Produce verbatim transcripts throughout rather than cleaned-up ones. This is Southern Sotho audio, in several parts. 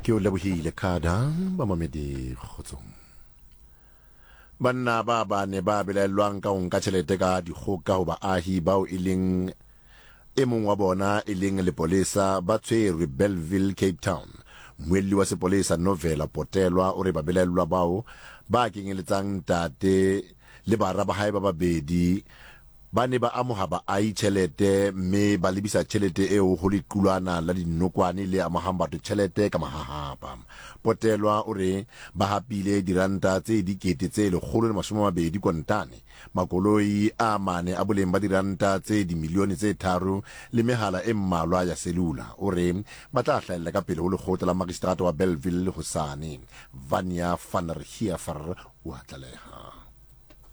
Ke o lebohile Kada bamamedi kgotsong. Banna ba bane ba belaellwang ka ho nka tjhelete ka dikgoka ho baahi bao e leng e mong wa bona e leng lepolesa ba tshwerwe Bellville, Cape Town. Mmuelli wa sepolesa Novela Potelwa o re babelaellwa bao ba kenyeletsang ntate le bara ba hae ba babedi ba ne ba amoha baahi tjhelete mme ba lebisa tjhelete eo ho lequlwana la dinokwane le amohang batho tjhelete ka mahahapa. Potelwa o re ba hapile diranta tse dikete tse lekgolo le mashome a mabedi kontane, makoloi a mane a boleng ba diranta tse dimilione tse tharo le mehala e mmalwa ya selula. O re ba tla hlahella ka pele ho lekgotla la magistrata wa Bellville hosane. Vania van der Heever o a tlaleha.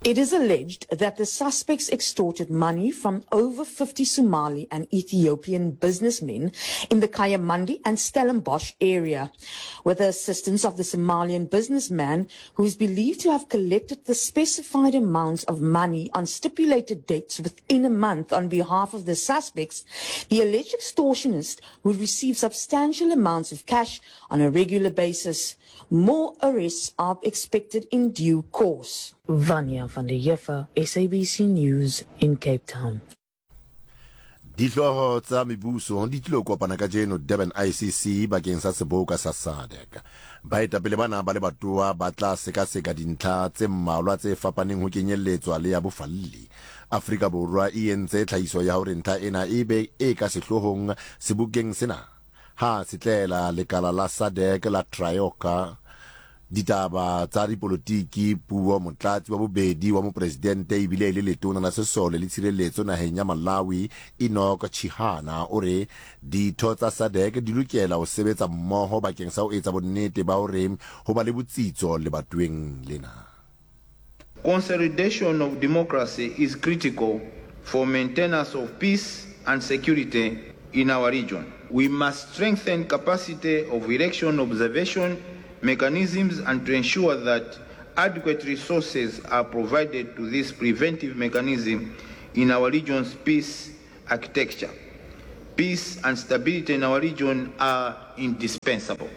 It is alleged that the suspects extorted money from over fifty Somali and Ethiopian businessmen in the Kayamandi and Stellenbosch area, with the assistance of the Somalian businessman who is believed to have collected the specified amounts of money on stipulated dates within a month on behalf of the suspects. The alleged extortionist would receive substantial amounts of cash on a regular basis. More arrests are expected in due course. Vanya van der Heever, S A B C News in Cape Town. Dihlooho tsa mebuso di tlilo kopana kajeno Durban I C C bakeng sa seboka sa SADC. Baetapele bana ba lebatowa ba tla sekaseka dintlha tse mmalwa tse fapaneng ho kenyelletswa le ya bofalli. Afrika Borwa e entse tlhahiso ya hore ntlha ena e be e ka sehloohong sebokeng sena. Ha setlela lekala la SADC la Trioka ditaba tsa dipolotiki puo motlatsi wa bobedi wa mopresidente ebile e le letona la sesole le tshireletso naheng ya Malawi Enoch Chihana o re ditho tsa SADC di lokela ho sebetsa mmoho bakeng sa ho etsa bonnete ba hore ho ba le botsitso lebatoweng lena. Consolidation of democracy is critical for maintenance of peace and security in our region. We must strengthen capacity of election observation mechanisms and to ensure that adequate resources are provided to this preventive mechanism in our region's peace architecture. Peace and stability in our region are indispensable.